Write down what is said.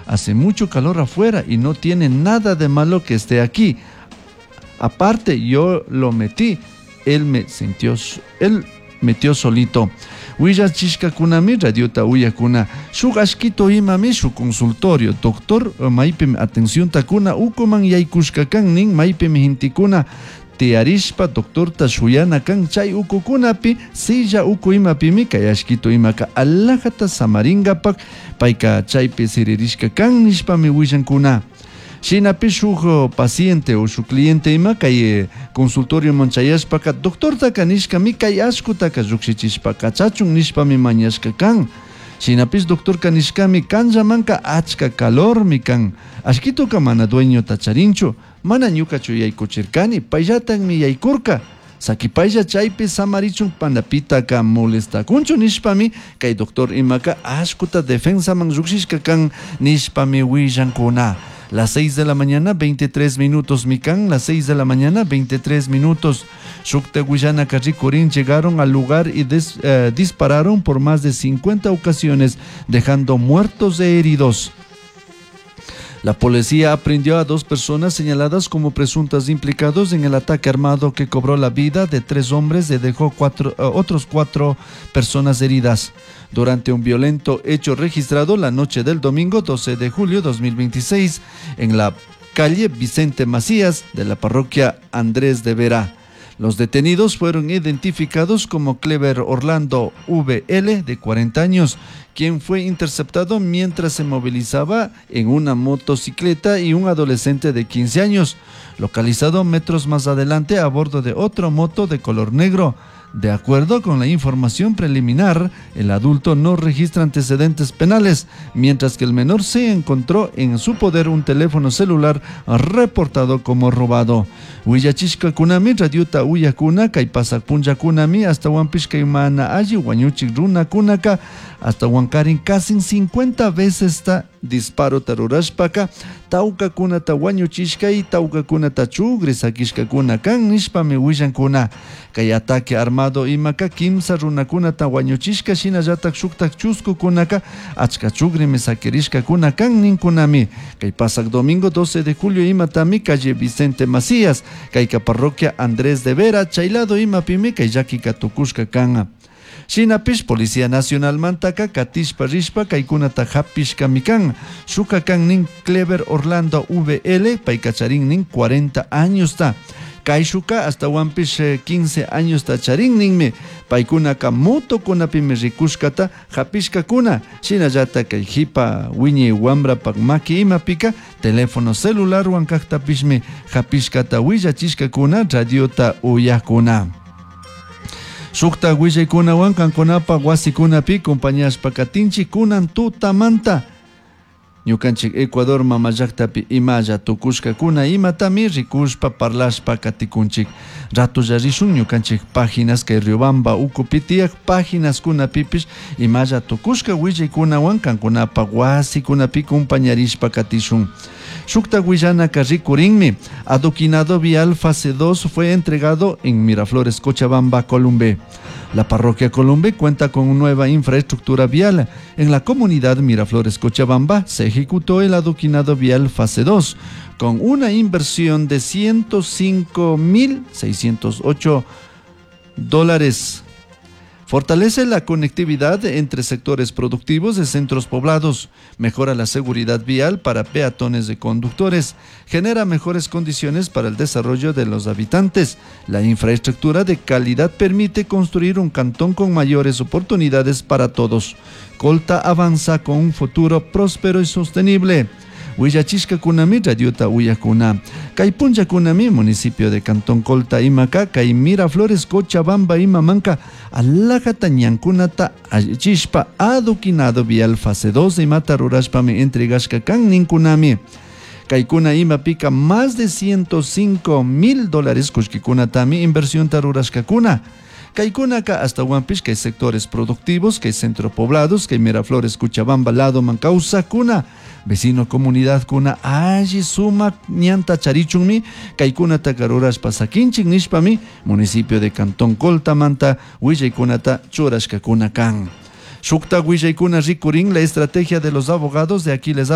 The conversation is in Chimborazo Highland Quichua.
Hace mucho calor afuera y no tiene nada de malo que esté aquí. Aparte, yo lo metí, él me sintió, él metió solito. Willachishkakunami radiota uyakuna. Shuk ashkito imami shuk consultorio. Doctor maypimi atención takuna ukuman yaykushka kan nin maypimi hintikuna tiyarishpa doctorta shuyana kan chay ukukunapi silla uku imapimi kay ashkito imaka alajata samaringapak payka chaypi siririshka kan nishpami willankuna. Shinapi shuk paciente o shuk cliente ima kay consultorioman chayashpaka doctortaka nishkami kay ashkutaka llukshichishpa kachachun nishpami mañashka kan. Shinapish doctorka nishkami kanllamanka achka calormi kan. Ashkituka mana dueñota charinchu, mana ñukachu yaykuchirkani, payllatakmi yaykurka. Sakipaylla chaypi samarichun panapitaka molestakunchu nishpami kay doctor imaka ashkuta defensaman llukshishka kan nishpami willankuna. Las 6 de la mañana, 23 minutos, Mikan, las 6 de la mañana, 23 minutos. Shukta Guyana Carricorín llegaron al lugar y dispararon por más de 50 ocasiones, dejando muertos e heridos. La policía aprehendió a 2 personas señaladas como presuntas implicados en el ataque armado que cobró la vida de 3 hombres y dejó otros 4 personas heridas. Durante un violento hecho registrado la noche del domingo 12 de julio 2026 en la calle Vicente Macías de la parroquia Andrés de Vera. Los detenidos fueron identificados como Clever Orlando VL, de 40 años, quien fue interceptado mientras se movilizaba en una motocicleta, y un adolescente de 15 años, localizado metros más adelante a bordo de otra moto de color negro. De acuerdo con la información preliminar, el adulto no registra antecedentes penales, mientras que el menor se encontró en su poder un teléfono celular reportado como robado. Willachishka kunami, radiota uyakuna, kay pasak punlla kunami, hasta huampishka imana alli, huañuchik runa kunaka, hasta huankarin casi 50 veces está disparo tarurashpaka, tauka kunata huañuchishka y tauka kunata chugri sakishka kuna kan nishpami willankuna. Kay ataque armado imaka kimsa runakunata huañuchishka shinallatak shuktak chusku kunaka achka chugrimi sakirishka kuna kan ninkunami. Kay pasak domingo 12 de julio imatami calle Vicente Macías, kayka parroquia Andrés de Vera, chaylado imapimi kay llakika tukushka kan. Shinapish Policía Nacional mantaka katishpa rishpa kaykunata hapishka mikan. Shuka kan nin Clever Orlando VL, paykacharin nin 40 años ta. Kayshuka hasta wampish 15 años ta charin ninmi. Paykunaka motokunapimi rikushkata hapishkakuna. Shinallata kay hipa wiñi wamrapak maki imapika teléfono celular wankaktapishmi hapishkata willachishkakuna radiota uyakuna. Shukta willaykunawan kankunapa wasikunapi compañashpa katinchik kunan tutamanta. Ñukanchik Ecuador mama llaktapi imalla tukushkakuna imatami rikushpa parlashpa katikunchik. Ratulla rishun ñukanchik páginas kay Riobamba ukupi tiyak páginas kunapipish imalla tukushka willaykunawan kankunapa wasikunapi compañarishpa katishun. Shukta willanaka rikurinmi. Adoquinado vial fase 2 fue entregado en Miraflores, Cochabamba, Columbe. La parroquia Columbe cuenta con una nueva infraestructura vial. En la comunidad Miraflores, Cochabamba, se ejecutó el adoquinado vial fase 2 con una inversión de 105.608 dólares. Fortalece la conectividad entre sectores productivos de centros poblados, mejora la seguridad vial para peatones y conductores, genera mejores condiciones para el desarrollo de los habitantes. La infraestructura de calidad permite construir un cantón con mayores oportunidades para todos. Colta avanza con un futuro próspero y sostenible. Willachishka kunami radiota uyakuna. Kay punlla kunami municipio de Cantón Colta imaka kay Miraflores Cochabamba imamanka alajata ñankunata allichishpa adoquinado vial fase 2 imata rurashpami entregashka kan ninkunami. Kaykuna imapika más de 105.000 dólares kullkikunatami inversión rurashkakuna. Kaikunaka hasta Huampish, que hay sectores productivos, que hay centro poblados, que hay Miraflores, Cochabamba, Lado, Mancausa, Cuna, vecino comunidad Cuna, allí suma, ñanta, charichunmi, Kaikuna, Takaruras, Pasaquinchik, Nishpami, municipio de Cantón Colta, Manta, Huillaykunata, Churashkakuna, Kan. Shukta willaykuna rikurin la estrategia de los abogados de Aquiles.